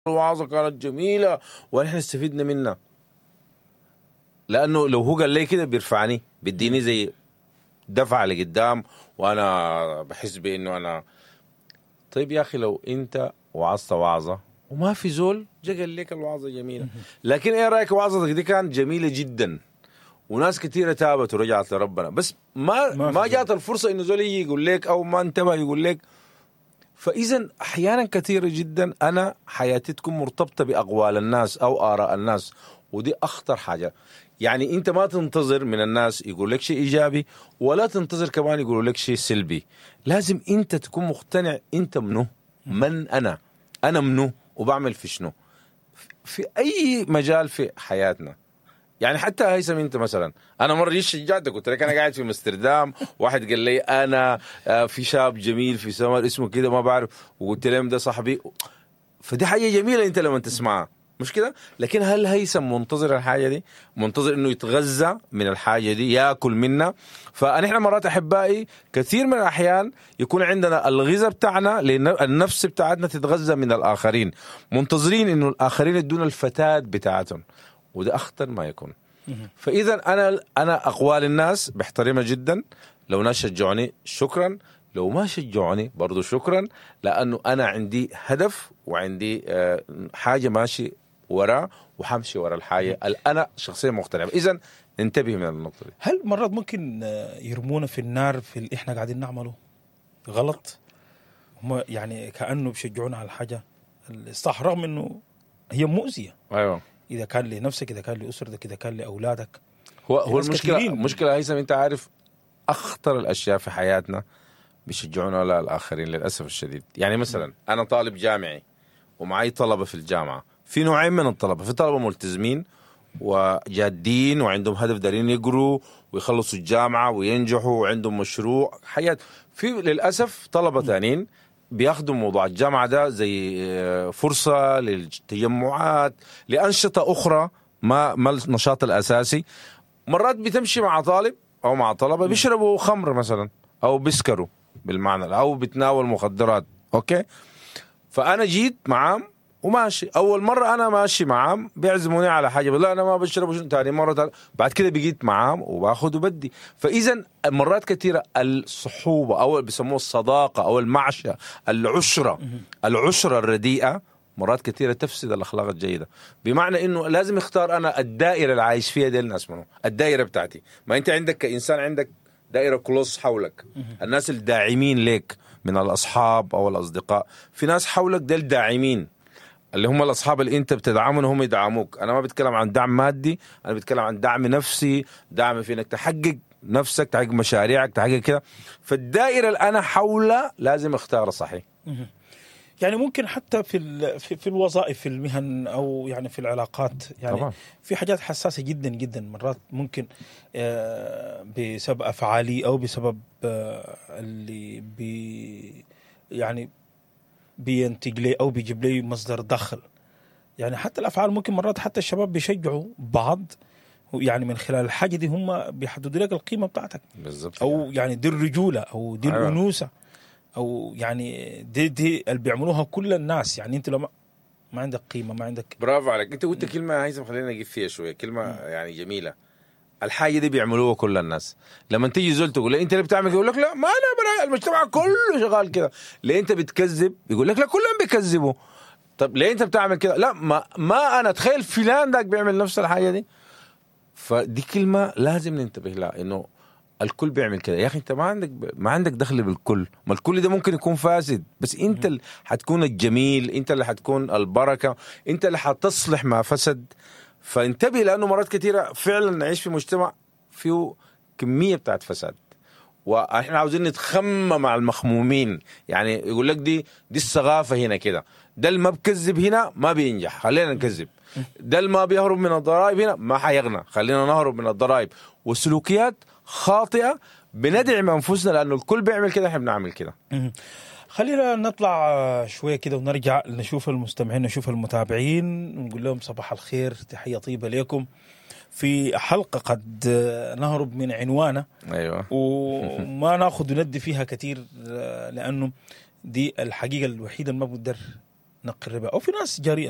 الوعظة كانت جميلة ونحن استفدنا منها. لانه لو هو قال لي كده بيرفعني، بيديني زي دفعه لقدام، وانا بحس بانه انا طيب. يا اخي لو انت وعظت وعظه وما في زول جا قال لك الوعظة جميلة، لكن ايه رايك وعظتك دي كانت جميلة جدا وناس كثيرة تابت ورجعت لربنا، بس ما جات الفرصة انه زول يجي يقول لك او ما انتبه يقول لك. فاذا احيانا كثيرة جدا انا حياتي تكون مرتبطة باقوال الناس او اراء الناس، ودي اخطر حاجة. يعني انت ما تنتظر من الناس يقول لك شيء ايجابي، ولا تنتظر كمان يقولوا لك شيء سلبي. لازم انت تكون مقتنع انت منو، من انا، انا منو وبعمل في شنو في اي مجال في حياتنا. يعني حتى هيثم انت مثلا، انا مرة جيت شجعتك قلت لك انا قاعد في امستردام، واحد قال لي انا في شاب جميل في سمر اسمه كده ما بعرف، وقلت لهم ده صاحبي. فدي حاجة جميلة انت لما تسمعها، مش كده؟ لكن هل هيثم منتظر الحاجة دي؟ منتظر انه يتغذى من الحاجة دي، ياكل منها؟ فنحن مرات احبائي كثير من الاحيان يكون عندنا الغذاء بتاعنا، لان النفس بتاعتنا تتغذى من الاخرين، منتظرين انه الاخرين يدونا الفتات بتاعتهم، وده اخطر ما يكون. فاذا انا اقوال الناس بحترمها جدا، لو ناس شجعوني شكرا، لو ما شجعوني برضو شكرا، لانه انا عندي هدف وعندي حاجة ماشي وراه، وحمشي ورا الحاجة اللي انا شخصيا مقتنع. اذا انتبه من النقطة دي. هل مرات ممكن يرمونا في النار في اللي احنا قاعدين نعمله غلط؟ هم يعني كانه بيشجعونا على الحاجة الصح رغم انه هي مؤذية. ايوه، اذا كان لنفسك، اذا كان لاسرتك، اذا كان لاولادك. هو المشكلة هيثم، انت عارف اخطر الاشياء في حياتنا بيشجعونا على الاخرين للاسف الشديد. يعني مثلا انا طالب جامعي ومعي طلبه في الجامعة، في نوعين من الطلبة، في طلبه ملتزمين وجادين وعندهم هدف، دارين يقروا ويخلصوا الجامعة وينجحوا وعندهم مشروع حياة. في للاسف طلبه ثانيين بياخدوا موضوع الجامعة ده زي فرصة للتجمعات، لانشطه اخرى ما النشاط الاساسي. مرات بتمشي مع طالب او مع طلبه بيشربوا خمر مثلا، او بيسكروا بالمعنى، او بيتناول مخدرات، okay؟ فانا جيت معاهم وماشي، اول مرة انا ماشي معاهم بيعزموني على حاجة، لا انا ما بشرب، شنو ثاني مرة بعد كده بقيت معاهم وباخذ وبدي. فاذا مرات كثيرة الصحوبه او بيسموه الصداقة او المعشه، العشرة الرديئة مرات كثيرة تفسد الاخلاق الجيدة. بمعنى انه لازم اختار انا الدائرة اللي عايش فيها دي الناس منو، الدائرة بتاعتي. ما انت عندك كانسان عندك دائرة close حولك، الناس الداعمين لك من الاصحاب او الاصدقاء، في ناس حولك ديل داعمين اللي هم الاصحاب اللي انت بتدعمهم هم يدعموك. انا ما بتكلم عن دعم مادي، انا بتكلم عن دعم نفسي، دعم في انك تحقق نفسك، تحقق مشاريعك، تحقق كده. فالدائره اللي انا حولها لازم اختارها صحيح. يعني ممكن حتى في الوظائف، في المهن، او يعني في العلاقات، يعني طبعا. في حاجات حساسة جدا جدا مرات ممكن بسبب افعالي او بسبب اللي يعني بينتج لي او بيجيب لي مصدر دخل. يعني حتى الافعال ممكن مرات حتى الشباب بيشجعوا بعض، يعني من خلال الحاجة دي هم بيحددوا لك القيمة بتاعتك بالظبط، او يعني دي الرجولة او دي الانوثة، او يعني دي اللي بيعملوها كل الناس. يعني انت لو ما عندك قيمة، ما عندك. برافو عليك، انت قلت كلمة هيثم خلينا نجيب فيها شوية، كلمة يعني جميلة. الحاجة دي بيعملوها كل الناس. لما تيجي زول تقول له انت اللي بتعمل، يقول لك لا ما انا، المجتمع كله شغال كده. ليه انت بتكذب؟ يقول لك لا كلهم بيكذبوا. طب ليه انت بتعمل كده؟ لا ما انا تخيل فلان ذاك بيعمل نفس الحاجة دي. فدي كلمة لازم ننتبه لها، انه الكل بيعمل كده. يا اخي انت ما عندك دخل بالكل، ما الكل ده ممكن يكون فاسد، بس انت اللي حتكون الجميل، انت اللي حتكون البركة، انت اللي حتصلح ما فسد. فانتبه، لانه مرات كثيرة فعلا نعيش في مجتمع فيه كمية بتاعت فساد، واحنا عاوزين نتخمم مع المخمومين. يعني يقول لك دي الثقافة هنا كده، ده اللي ما بكذب هنا ما بينجح، خلينا نكذب. ده اللي ما بيهرب من الضرائب هنا ما حيغنى، خلينا نهرب من الضرائب. والسلوكيات خاطئه بندعم انفسنا لانه الكل بيعمل كده، احنا بنعمل كده. خلينا نطلع شوية كده ونرجع نشوف المستمعين، نشوف المتابعين، ونقول لهم صباح الخير، تحية طيبة لكم في حلقة قد نهرب من عنوانه. أيوة. وما ناخذ وندي فيها كثير، لأنه دي الحقيقة الوحيدة اللي ما بقدر نقر بها، او في ناس جريئة.